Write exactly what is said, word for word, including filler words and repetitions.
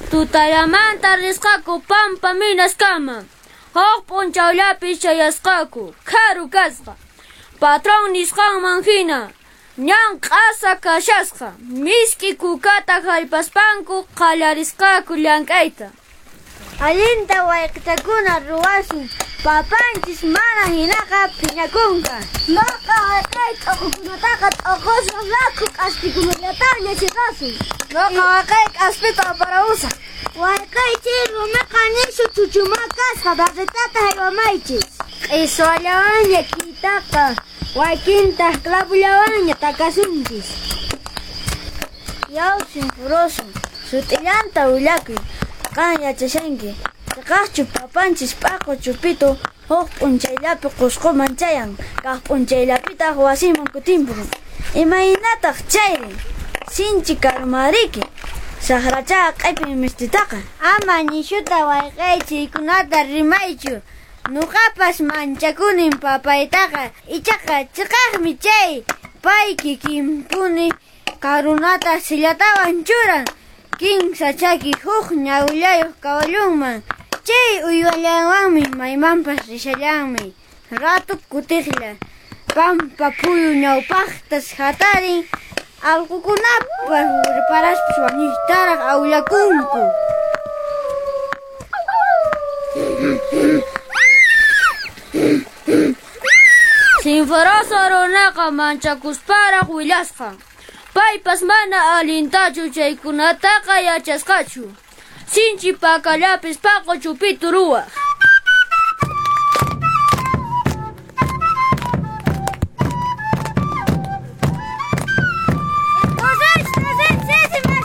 Tutallamanta risqaku Pampa Minaskama. Huk p'unchawllapi chayasqaku, karu kasqa. Patrón nisqanman hina, ñan q'asa kashasqa, misk'i kukata hallpaspanku qallarisqaku llank'ayta. Allinta wayqichakuna ruwasun, papanchis mana hinaqa phiñakunqa. Nuqa wayqey t'uqukunataqa t'uqusaq, rakhu k'aspikunallataqña chiqasun. Nuqa wayqey k'aspita aparamusaq. Wayqey chay rumiqa nishu chuchumá kasqa, barretata haywamaychis. Q'iswallawanña k'itaqa, wakintaq clavullawanña takasunchis. Yaw Sinforoso, sut'illanta willakuy, qan yachashanki. Chiqaqchu papanchis p'aqu chupitu huk p'unchayllapi Qusquman chayan, kaq p'unchayllapitaq wasiman kutimpun. Imaynataq chayri? Sinchi karumariki. Saqracha q'ipin mistitaqa. Ama nishuta wayqey chaykunata rimaychu. Nuqapas manchakunin papaytaqa, ichaqa chiqaqmi chay. Pay kikinpuni karunata sillatawan churan. Kinsa chaki huk ñawillayuq kawallunman. Chay uywallanwanmi maymanpas rishallanmi. Ratu kutiqlla. Pampa phuyu ñawpaqtas hatarin. Allqukunapas riparaspas wañuytaraq awllakunku. Sinforoso runaqa manchakusparaq willasqa. Paypas mana allintachu chaykunataqa yachasqachu. Sinchi pakallapis paqu chupitu ruwaq.